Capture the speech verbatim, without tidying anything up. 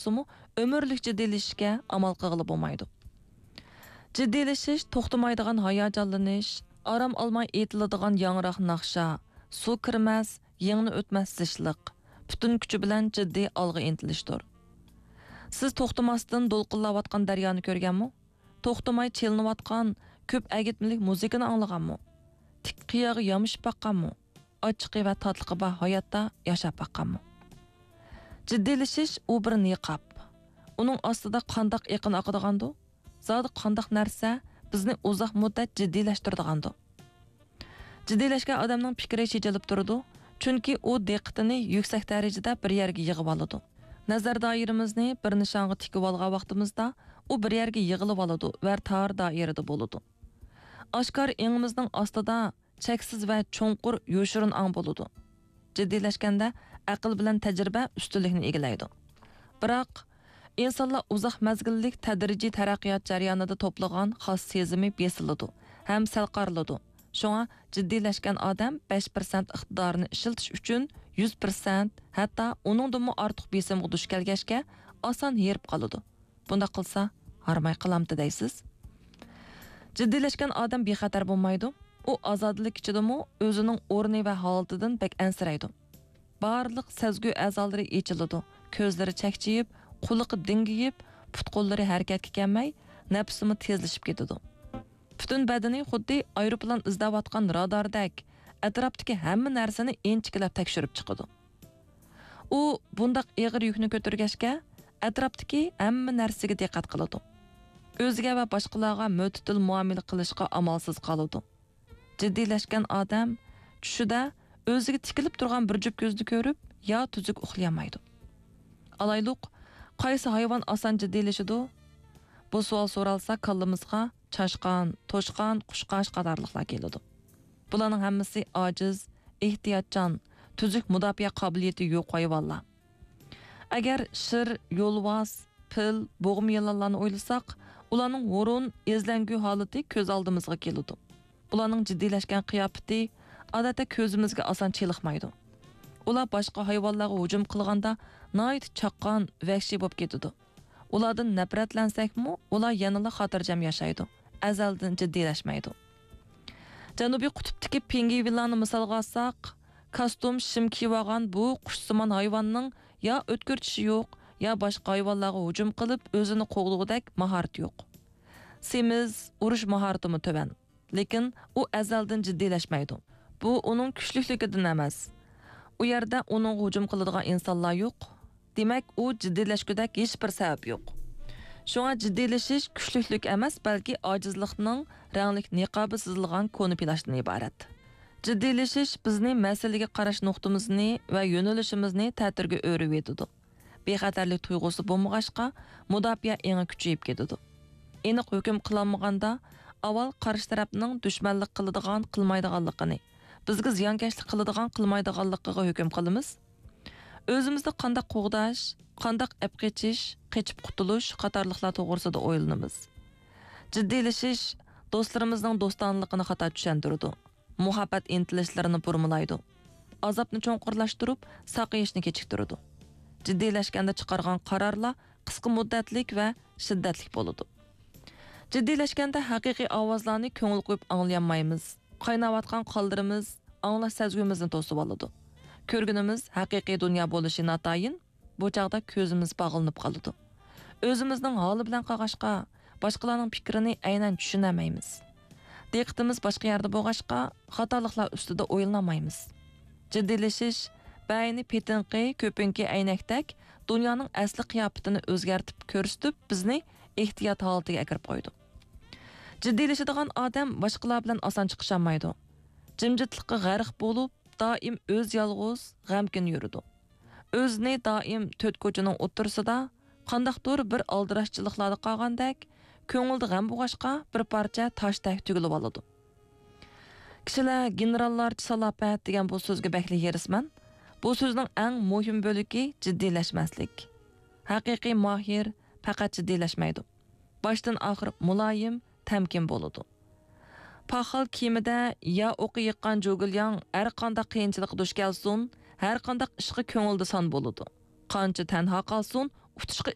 بولسىمۇ، ئۆمۈرلۈك جىددىيلىشىشكە ئامال قىلغىلى بولمايدۇ. جىددىيلىشىش توختىمايدىغان ھاياجانلىنىش، ئارام ئالماي ئېيتىلىدىغان ياڭراق ناخشا، سۇ كىرمەس، يىڭنە ئۆتمەس زىچلىق، پۈتۈن كۈچى بىلەن جىددىي ئالغا ئىنتىلىشتۇر. سىز توختىماستىن دولقۇنلاۋاتقان دەريانى كۆرگەنمۇ؟ توختىماي چېلىنىۋاتقان كۆپ ئەگىتمىلىك مۇزىكىنى ئاڭلىغانمۇ؟ تىك قىياغا يامىشىپ باققانمۇ؟ ئاچچىقى ۋە تاتلىقى بار ھاياتتا ياشاپ باققانمۇ؟ جىددىيلىشىش ئۇ بىر نىقاب. ئۇنىڭ ئاستىدا قانداق ئېقىن ئاقىدىغاندۇ؟ زادى قانداق نەرسە بىزنى ئۇزاق مۇددەت جىددىيلەشتۈرىدىغاندۇ؟ جىددىيلەشكەن ئادەمنىڭ پىكرى چېچىلىپ تۇرىدۇ، چۈنكى ئۇ دىققىتىنى يۈكسەك دەرىجىدە بىر يەرگە يىغىۋالىدۇ. نەزەر دائىرىمىزنى بىر نىشانغا تىكىۋالغان ۋاقتىمىزدا، ئۇ بىر يەرگە يىغىلىۋالىدۇ ۋە تار دائىرىدە بولىدۇ. ئاشكارا ئېڭىمىزنىڭ ئاستىدا چەكسىز ۋە چوڭقۇر يوشۇرۇن ئاڭ بولىدۇ. جىددىيلەشكەندە ئەقىل بىلەن تەجرىبە ئۈستۈنلۈكنى ئىگىلەيدۇ. بىراق، ئىنسانلار ئۇزاق مەزگىللىك تەدرىجىي تەرەققىيات جەريانىدا توپلىغان خاس سېزىمى بېسىلىدۇ ھەم سەل قارىلىدۇ. شۇڭا جىددىيلەشكەن ئادەم بەش پىرسەنت ئىقتىدارىنى ئىشلىتىش ئۈچۈن يۈز پىرسەنت، ھەتتا ئۇنىڭدىنمۇ ئارتۇق بېسىمغا دۇچ كەلگەچكە، ئاسان ھېرىپ قالىدۇ. بۇنداق قىلسا، ھارماي قالامتى دەيسىز؟ جىددىيلەشكەن ئادەم بىخەتەر بولمايدۇ. ئۇ ئازادىلىك ئىچىدىمۇ ئۆزىنىڭ ئورنى ۋە ھالىتىدىن بەك ئەنسىرەيدۇ. بارلىق سەزگۈ ئەزالىرى ئېچىلىدۇ، كۆزلىرى چەكچىيىپ، قۇلىقى دىڭگىيىپ، پۇت-قوللىرى ھەرىكەتكە كەلمەي، نەپىسىمۇ تېزلىشىپ كېتىدۇ. پۈتۈن بەدىنى خۇددى ئايروپىلان ئىزدەۋاتقان راداردەك ئەتراپتىكى ھەممە نەرسىنى ئىنچىكىلەپ تەكشۈرۈپ چىقىدۇ. ئۇ بۇنداق ئېغىر يۈكنى كۆتۈرگەچكە، ئەتراپتىكى ھەممە نەرسىگە دىققەت قىلىدۇ. ئۆزىگە ۋە باشقىلارغا مۆتىدىل مۇئامىلە قىلىشقا ئامالسىز قالىدۇ. جىددىيلەشكەن ئادەم چۈشىدە ئۆزىگە تىكىلىپ تۇرغان بىر جۈپ كۆزنى كۆرۈپ، يا تۈزۈك ئۇخلىيالمايدۇ. ئالايلۇق، قايسى ھايۋان ئاسان جىددىيلىشىدۇ؟ بۇ سوئال سورالسا، كاللىمىزغا چاشقان، توشقان، قۇشقاچ قاتارلىقلار كېلىدۇ. بۇلارنىڭ ھەممىسى ئاجىز، ئېھتىياتچان، تۈزۈك مۇداپىئە قابىلىيىتى يوق ھايۋانلار. ئەگەر شىر، يولۋاس، پىل، بوغما يىلانلارنى ئويلىساق، ئۇلارنىڭ ھۇرۇن، ئىزلەنگۈ ھالىتى كۆز ئالدىمىزغا كېلىدۇ. ئۇلارنىڭ جىددىيلەشكەن قىياپىتى، ئادەتتە، كۆزىمىزگە ئاسان چېلىقمايدۇ. ئۇلار باشقا ھايۋانلارغا ھۇجۇم قىلغاندا ناھايىتى چاققان، ۋەھشىي بولۇپ كېتىدۇ. ئۇلاردىن نەپرەتلەنسەكمۇ، ئۇلار يەنىلا خاتىرجەم ياشايدۇ، ئەزەلدىن جىددىيلەشمەيدۇ. جەنۇبىي قۇتۇپتىكى پىڭگۋىنلارنى مىسالغا ئالساق، كاستيۇم، شىم كىيىۋالغان بۇ قۇشسىمان ھايۋاننىڭ يا ئۆتكۈر چىشى يوق، يا باشقا ھايۋانلارغا ھۇجۇم قىلىپ ئۆزىنى قوغدىغۇدەك ماھارىتى يوق. سېمىز، ئۇرۇش ماھارىتىمۇ تۆۋەن. لېكىن ئۇ ئەزەلدىن جىددىيلەشمەيدۇ. بۇ ئۇنىڭ كۈچلۈكلۈكىدىن ئەمەس. ئۇ يەردە ئۇنىڭغا ھۇجۇم قىلىدىغان ئىنسانلار يوق. دېمەك، ئۇ جىددىيلەشكۈدەك ھېچبىر سەۋەب يوق. شۇڭا جىددىيلىشىش كۈچلۈكلۈك ئەمەس، بەلكى ئاجىزلىقنىڭ رەڭلىك نىقابى سىزىلغان كونا پىلاچتىن ئىبارەت. جىددىيلىشىش بىزنى مەسىلىگە قاراش نۇقتىمىزنى ۋە يۆنىلىشىمىزنى تەتۈرگە ئۆرۈۋېتىدۇ. بىخەتەرلىك تۇيغۇسى بولمىغاچقا، مۇداپىئە ئېڭى كۈچىيىپ كېتىدۇ. ئېنىق ھۆكۈم قىلالمىغاندا، ئاۋۋال قارشى تەرەپنىڭ دۈشمەنلىك قىلىدىغان، قىلمايدىغانلىقىنى، بىزگە زىيانكەشلىك قىلىدىغان، قىلمايدىغانلىقىغا ھۆكۈم قىلىمىز. ئۆزىمىزنى قانداق قوغداش، قانداق ئەپ قېچىش، قېچىپ قۇتۇلۇش قاتارلىقلار توغرىسىدا ئويلىنىمىز. جىددىيلىشىش دوستلىرىمىزنىڭ دوستانىلىقىنى خاتا چۈشەندۈرىدۇ. مۇھەببەت ئىنتىلىشلىرىنى بۇرمىلايدۇ. ئازابنى چوڭقۇرلاشتۇرۇپ، ساقىيىشنى كېچىكتۈرىدۇ. جىددىيلەشكەندە چىقارغان قارارلار قىسقا مۇددەتلىك ۋە شىددەتلىك بولىدۇ. جىددىيلەشكەندە ھەقىقىي ئاۋازلارنى كۆڭۈل قويۇپ ئاڭلىيالمايمىز. قايناۋاتقان قانلىرىمىز ئاڭلاش سەزگۈمىزنى توسۇۋالىدۇ. كۆرگىنىمىز ھەقىقىي دۇنيا بولۇشى ناتايىن، بۇ چاغدا كۆزىمىز باغلىنىپ قالىدۇ. ئۆزىمىزنىڭ ھالى بىلەن قالغاچقا، باشقىلارنىڭ پىكرىنى ئەينەن چۈشىنەلمەيمىز. دىققىتىمىز باشقا يەردە بولغاچقا، خاتالىقلار ئۈستىدە ئويلىنالمايمىز. جىددىيلىشىش بەينى پېتىنقى، كۆپۈنكى ئەينەكتەك دۇنيانىڭ ئەسلى قىياپىتىنى ئۆزگەرتىپ كۆرسىتىپ، بىزنى ئېھتىيات ھالىتىگە ئەكىرىپ قويىدۇ. جىددىيلىشىدىغان ئادەم باشقىلار بىلەن ئاسان چىقىشالمايدۇ. جىمجىتلىققا غەرق بولۇپ، دائىم ئۆز يالغۇز، غەمكىن يۈرىدۇ. ئۆزىنى دائىم تۆت كوچىنىڭ ئوتتۇرىسىدا، قانداقتۇر بىر ئالدىراشچىلىقلاردا قالغاندەك، كۆڭلىدە غەم بولغاچقا، بىر پارچە تاشتەك تۈگۈلۈۋالىدۇ. كىشىلەر گېنېراللارچە سالاپەت دېگەن بۇ سۆزگە بەكلا ھېرىسمەن. بۇ سۆزنىڭ ئەڭ مۇھىم بۆلىكى جىددىيلەشمەسلىك. ھەقىقىي ماھىر پەقەت جىددىيلەشمەيدۇ. باشتىن ئاخىر مۇلايىم، تەمكىن بولىدۇ. پاخال كېمىدە يا ئوقى يىغقان جۇگېلياڭ ھەر قانداق قىيىنچىلىققا دۇچ كەلسۇن، ھەر قانداق ئىشقا كۆڭلىدە سان بولىدۇ. قانچە تەنھا قالسۇن، ئۇ پۇتۇشقا